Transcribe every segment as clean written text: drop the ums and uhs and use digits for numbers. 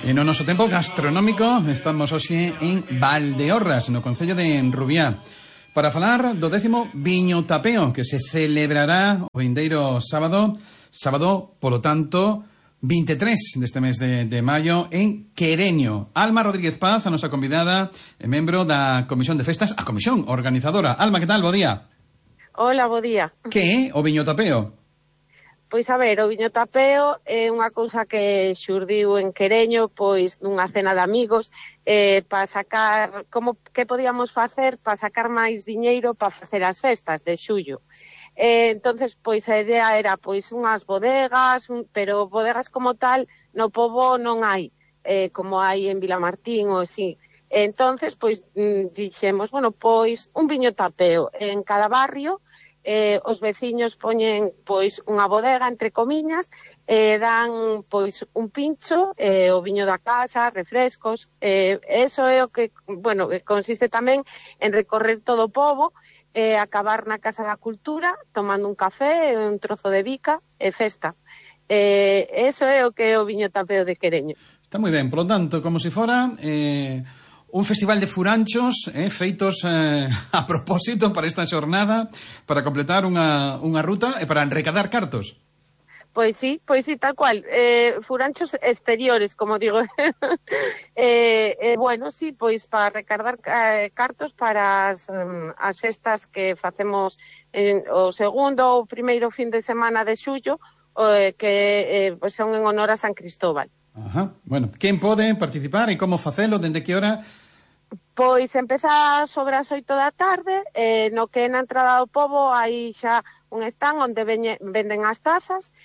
E no noso tempo gastronómico estamos hoxe en Valdeorras, no concello de Rubiá, para falar do 10º Viño Tapeo que se celebrará o vindeiro sábado, polo tanto, 23 deste mes de maio en Quereño. Alma Rodríguez Paz, a nosa convidada, é membro da Comisión de Festas, a comisión organizadora. Alma, que tal? Bo día. Hola, bo día. Que é o Viño Tapeo? Pois a ver, o Viño Tapeo é unha cousa que xurdiu en Quereño, pois nunha cena de amigos, para sacar, que podíamos facer para sacar máis diñeiro para facer as festas de xullo. Entonces, pois a idea era pois unhas bodegas, pero bodegas como tal no pobo non hai, como hai en Vilamartín ou así. Entonces, pois dixemos, bueno, pois un viño tapeo en cada barrio. Os veciños poñen pois unha bodega, entre comiñas, dan pois un pincho, o viño da casa, refrescos, eso é o que, bueno, consiste tamén en recorrer todo o pobo, acabar na Casa da Cultura, tomando un café, un trozo de bica e festa. Eso é o que é o Viño Tapeo de Quereño. Está moi ben, polo tanto, como se fora un festival de furanchos feitos a propósito para esta xornada, para completar unha ruta e para recadar cartos. Pois sí, tal cual. Furanchos exteriores, como digo. Bueno, sí, pois para recadar cartos para as festas que facemos o segundo ou primeiro fin de semana de xullo, que pois son en honor a San Cristóbal. Ajá. Bueno, quen pode participar e como facelo, dende que hora? Pois empeza sobre as 8 da tarde, no que na entrada do pobo hai xa un stand onde venden as tazas,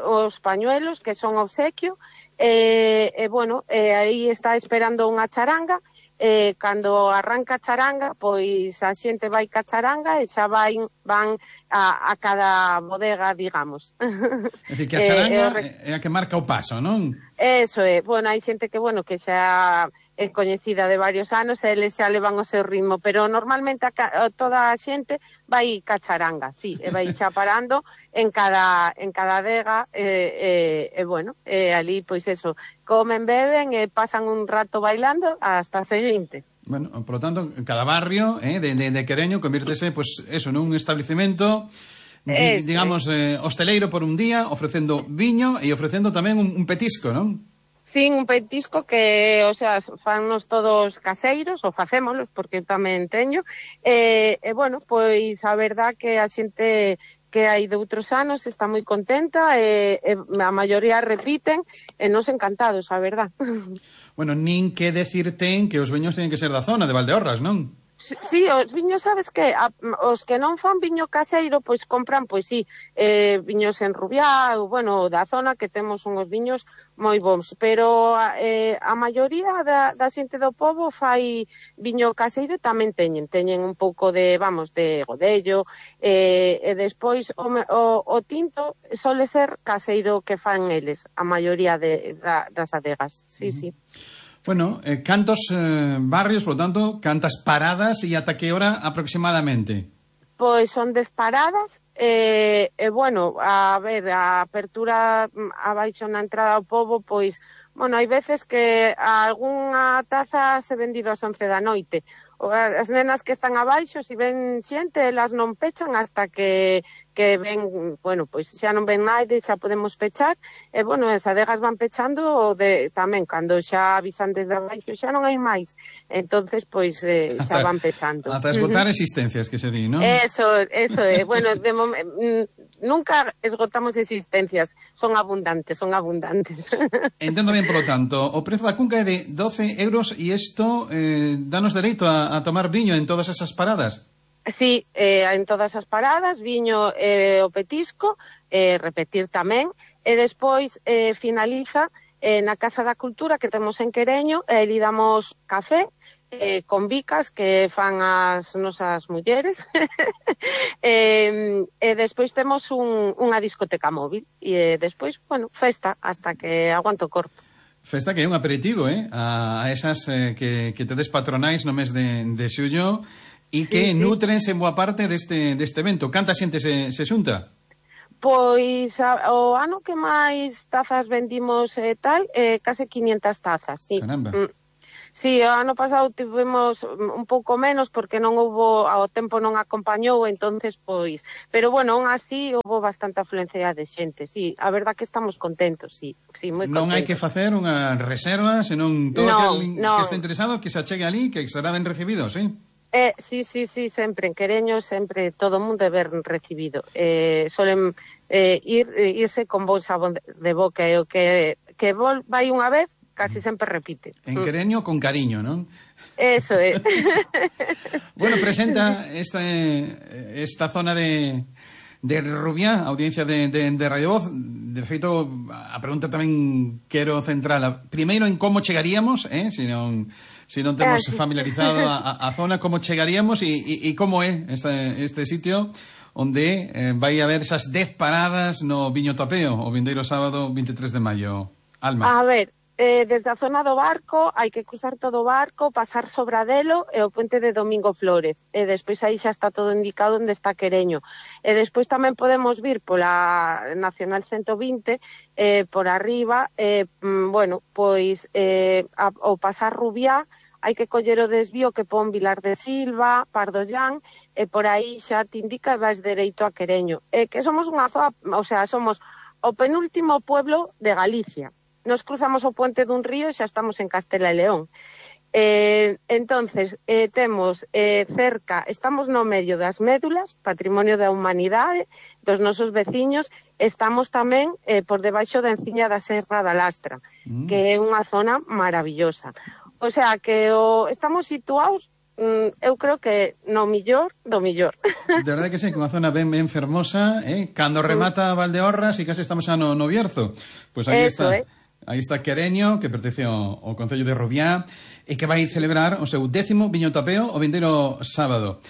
os pañuelos, que son obsequio, bueno, aí está esperando unha charanga. Cando arranca a charanga, pois a xente vai ca charanga e xa van a cada bodega, digamos. É dicir, que a charanga é a que marca o paso, non? Eso é, bueno, hai xente que, bueno, que xa é coñecida de varios anos e eles xa levan o seu ritmo, pero normalmente toda a xente vai ca charanga, sí, e vai xa parando en cada adega, bueno, ali, pois eso, comen, beben e pasan un rato bailando hasta a seguinte. Bueno, por lo tanto, cada barrio de Quereño convírtese, pues eso, nun establecemento, digamos, hosteleiro por un día, ofrecendo viño e ofrecendo tamén un petisco, non? Sí, un petisco que, o sea, fannos todos caseiros, ou facémolos, porque tamén teño, bueno, pois a verdad que a xente que hai de outros anos está moi contenta, a maioría repiten, e nos encantados, a verdad. Bueno, nin que decir ten que os viños teñen que ser da zona de Valdeorras, non? Sí, os viños, sabes que os que non fan viño caseiro, pois compran, pois sí, viños en Rubiá, ou, bueno, da zona, que temos unhos viños moi bons, pero a maioría da xente do pobo fai viño caseiro, tamén teñen un pouco de, vamos, de godello, e despois o tinto sole ser caseiro que fan eles, a maioría das adegas, sí, sí. Bueno, cantos barrios, por lo tanto, cantas paradas e ata que hora aproximadamente? Pois son 10 paradas, bueno, a ver, a apertura abaixo na entrada ao pobo, pois, bueno, hai veces que algunha taza se vendido ás 11 da noite. As nenas que están abaixo, se ven xente, elas non pechan hasta que ven, bueno, pois xa non ven naide, xa podemos pechar, e, bueno, as adegas van pechando tamén, cando xa avisan desde abaixo, xa non hai máis, entonces, pois, xa van pechando. Ata esgotar existencias, que se di, non? Eso é, bueno, de nunca esgotamos existencias, son abundantes. Entendo ben, polo tanto, o prezo da cunca é de 12 euros e isto danos dereito a tomar viño en todas esas paradas? Sí, en todas as paradas, viño o petisco, repetir tamén, e despois finaliza na Casa da Cultura que temos en Quereño, e ali damos café, con bicas que fan as nosas mulleres, e despois temos unha discoteca móvil, e despois, bueno, festa, hasta que aguanto o corpo. Festa que é un aperitivo, a esas que tedes patronais no mes de xullo e que nutrense en boa parte deste evento. Canta xente se xunta? Pois o ano que máis tazas vendimos tal, case 500 tazas, sí. Caramba. Sí, o ano pasado tivemos un pouco menos porque non houbo, ao tempo non acompañou, entonces pois, pero bueno, aún así houbo bastante afluencia de xente, sí, a verdad que estamos contentos, sí, moi contentos. Non hai que facer unha reserva, senón todo aquel que este interesado que se achegue ali, que será ben recibido, sí? Sí, sempre, en Quereño, sempre todo o mundo é ben recibido. Solen irse con bon sabón de boca, e o que vai unha vez, casi sempre repite. En Quereño con cariño, non? Eso é. Bueno, presenta esta zona de Rubiá, audiencia de Radio Voz. De feito, a pregunta tamén quero centrala primeiro en como chegaríamos, se non temos familiarizado a zona, como chegaríamos e como é este sitio onde vai haber esas 10 paradas no Viño Tapeo o vindeiro sábado 23 de maio. Alma. A ver, desde a zona do barco hai que cruzar todo o barco, pasar Sobradelo e o puente de Domingo Flórez, e despois aí xa está todo indicado onde está Quereño, e despois tamén podemos vir pola Nacional 120 por arriba, bueno, pois ao pasar Rubiá hai que coller o desvío que pon Vilar de Silva, Pardollán, e por aí xa te indica e vais dereito a Quereño, que somos unha zona, o sea, somos o penúltimo pueblo de Galicia. Nos cruzamos o puente dun río e xa estamos en Castela e León. Entonces, temos cerca, estamos no medio das Médulas, Patrimonio da Humanidade, dos nosos veciños, estamos tamén por debaixo da enciña da Serra da Lastra, que é unha zona maravillosa. O sea, que estamos situados, eu creo que no millor do millor. De verdade que sí, que unha zona ben fermosa, cando remata Valdeorras e case estamos xa no Bierzo. Pois aí está. Aí está Quereño, que pertence ao Concello de Rubiá, e que vai celebrar o seu 10º Viño Tapeo o vindeiro sábado.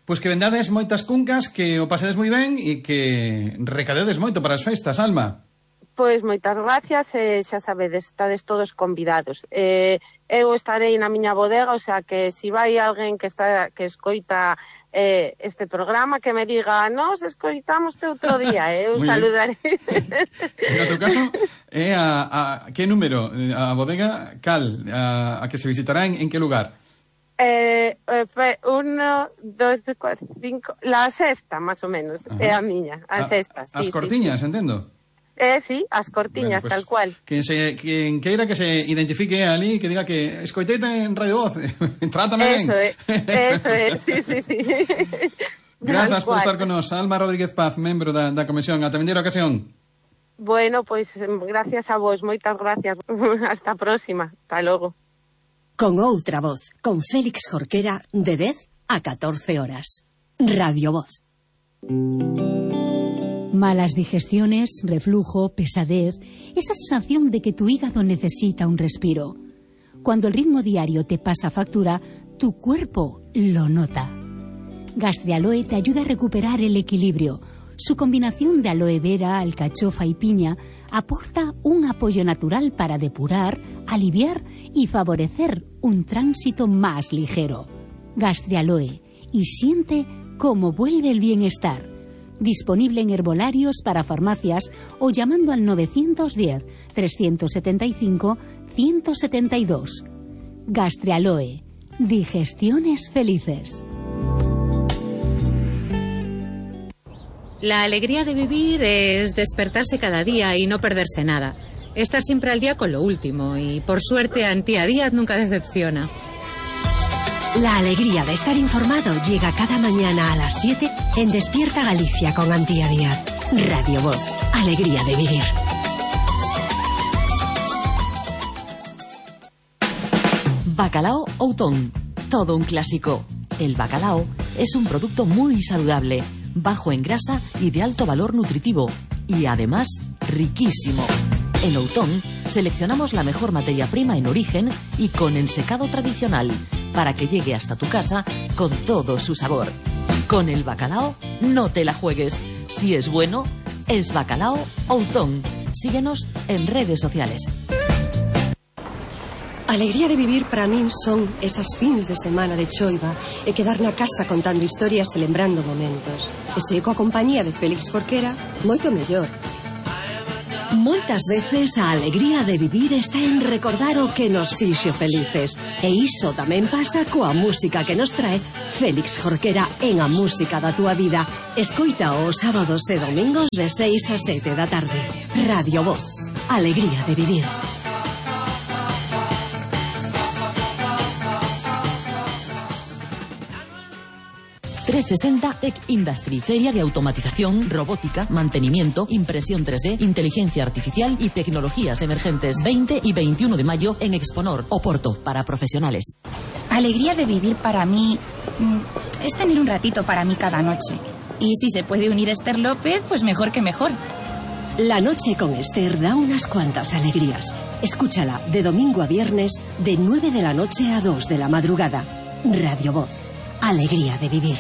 Pois que vendades moitas cuncas, que o pasedes moi ben e que recadedes moito para as festas, Alma. Pois moitas gracias, xa sabedes, estades todos convidados. Eu estarei na miña bodega, o sea que se vai alguén que escoita este programa, que me diga, nos escoitamos outro día, eu saludarei. No teu caso, que número? A bodega cal? A que se visitará en que lugar? 1, 2, 4, 5, la sexta, más o menos, é a miña, a sexta. As cortiñas, entendo? Sí, as cortiñas, bueno, pues, tal cual. Quen queira que se identifique ali, que diga que escoiteite en Radio Voz, trátame ben. Eso é, sí. Grazas por estar con nos, Alma Rodríguez Paz, membro da comisión. Ata vindeira ocasión. Bueno, pois gracias a vos, moitas gracias. Hasta a próxima, hasta logo. Con outra voz, con Félix Jorquera, de 10 a 14 horas. Radio Voz. Malas digestiones, reflujo, pesadez, esa sensación de que tu hígado necesita un respiro. Cuando el ritmo diario te pasa factura, tu cuerpo lo nota. Gastrialoe te ayuda a recuperar el equilibrio. Su combinación de aloe vera, alcachofa y piña aporta un apoyo natural para depurar, aliviar y favorecer un tránsito más ligero. Gastrialoe, y siente cómo vuelve el bienestar. Disponible en herbolarios para farmacias o llamando al 910-375-172. Gastrialoe. Digestiones felices. La alegría de vivir es despertarse cada día y no perderse nada. Estar siempre al día con lo último y, por suerte, Antía Díaz nunca decepciona. La alegría de estar informado llega cada mañana a las 7 en Despierta Galicia con Antía Díaz. Radio Voz. Alegría de vivir. Bacalao Outón. Todo un clásico. El bacalao es un producto muy saludable, bajo en grasa y de alto valor nutritivo. Y además, riquísimo. En Outón seleccionamos la mejor materia prima en origen y con ensecado tradicional, para que llegue hasta tu casa con todo su sabor. Con el bacalao no te la juegues. Si es bueno, es Bacalao Outón. Síguenos en redes sociales. A alegría de vivir para min son esas fins de semana de choiva e quedar na casa contando historias e lembrando momentos. E se coa compañía de Félix Jorquera, moito mellor. Moitas veces a alegría de vivir está en recordar o que nos fixo felices. E iso tamén pasa coa música que nos trae Félix Jorquera en A Música da Túa Vida. Escoita os sábados e domingos de 6 a 7 da tarde. Radio Voz. Alegría de vivir. 360 Tech Industry, feria de automatización, robótica, mantenimiento, impresión 3D, inteligencia artificial y tecnologías emergentes. 20 y 21 de mayo en Exponor, Oporto, para profesionales. Alegría de vivir para mí es tener un ratito para mí cada noche. Y si se puede unir Esther López, pues mejor que mejor. La noche con Esther da unas cuantas alegrías. Escúchala de domingo a viernes de 9 de la noche a 2 de la madrugada. Radio Voz. Alegría de vivir.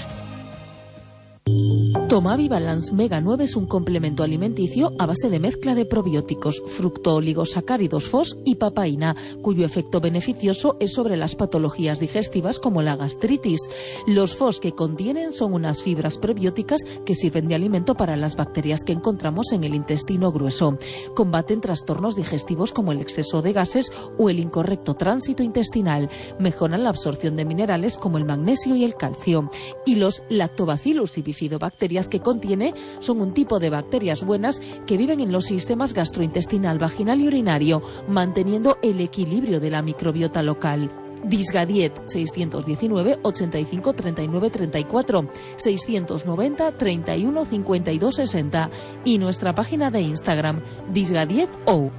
Tomavi Balance Mega 9 es un complemento alimenticio a base de mezcla de probióticos, fructooligosacáridos FOS y papaína, cuyo efecto beneficioso es sobre las patologías digestivas como la gastritis. Los FOS que contienen son unas fibras prebióticas que sirven de alimento para las bacterias que encontramos en el intestino grueso. Combaten trastornos digestivos como el exceso de gases o el incorrecto tránsito intestinal. Mejoran la absorción de minerales como el magnesio y el calcio. Y los lactobacillus y bifidobacterias que contiene son un tipo de bacterias buenas que viven en los sistemas gastrointestinal, vaginal y urinario, manteniendo el equilibrio de la microbiota local. Disgadiet 619 85 39 34 690 31 52 60 y nuestra página de Instagram disgadietou.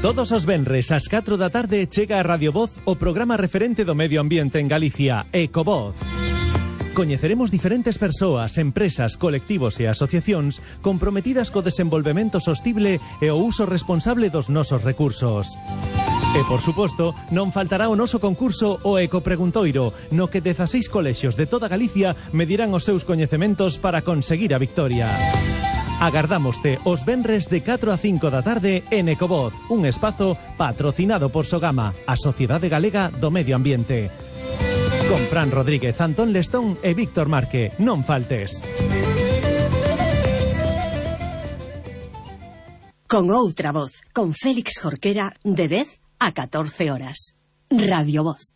Todos os venres ás 4 da tarde chega a Radio Voz o programa referente do medio ambiente en Galicia, Ecovoz. Coñeceremos diferentes persoas, empresas, colectivos e asociacións comprometidas co desenvolvemento sostible e o uso responsable dos nosos recursos. E, por suposto, non faltará o noso concurso o Ecopreguntoiro, no que 16 colexios de toda Galicia medirán os seus coñecementos para conseguir a victoria. Agardámoste os venres de 4 a 5 da tarde en Ecovoz, un espazo patrocinado por Sogama, a Sociedade Galega do Medio Ambiente. Con Fran Rodríguez, Antón Lestón e Víctor Marque. Non faltes. Con outra voz, con Félix Jorquera, de 10 a 14 horas. Radio Voz.